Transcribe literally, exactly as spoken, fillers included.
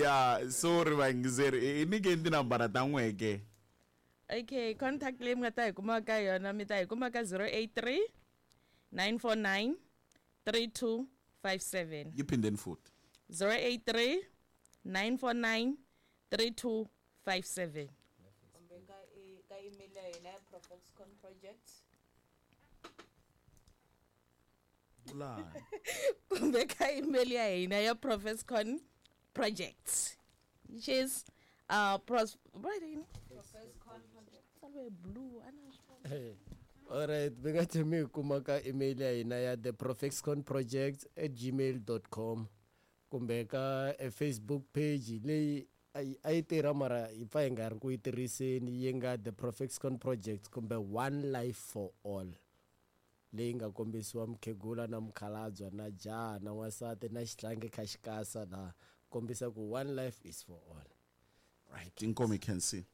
Ya, sorry vayingiseri, i nyikeni tinambara ta n'wehe ke. Okay, contact leyi mi nga ta hi kuma ka yona, mi ta hi kuma ka zero eight three nine four nine three two five seven. Yi phindeni futhi. zero eight three nine four nine three two five seven. Kumbe ka e-, ka email ya hina ya Profexcon Project. Vulani. Kumbe ka email ya hina ya Profexcon Project, which is, uh, pros, right in Profexcon Project. Salwe blue, ana. Hey. All right, mi nga tlhela mi hi kuma ka email ya hina ya the profexcon project at gmail dot com kumbe ka e Facebook page leyi a yi, a yi tirha mara hi pfa hi nga ri ku yi tirhiseni, yi nga the Profexcon Project kumbe One Life for All, leyi nga kombisiwa mukhegula na mukhalabye na jaha na n'wansati na xihlangi kha xikasa laha kombisa ku one life is for all. Right, inkomo you can see.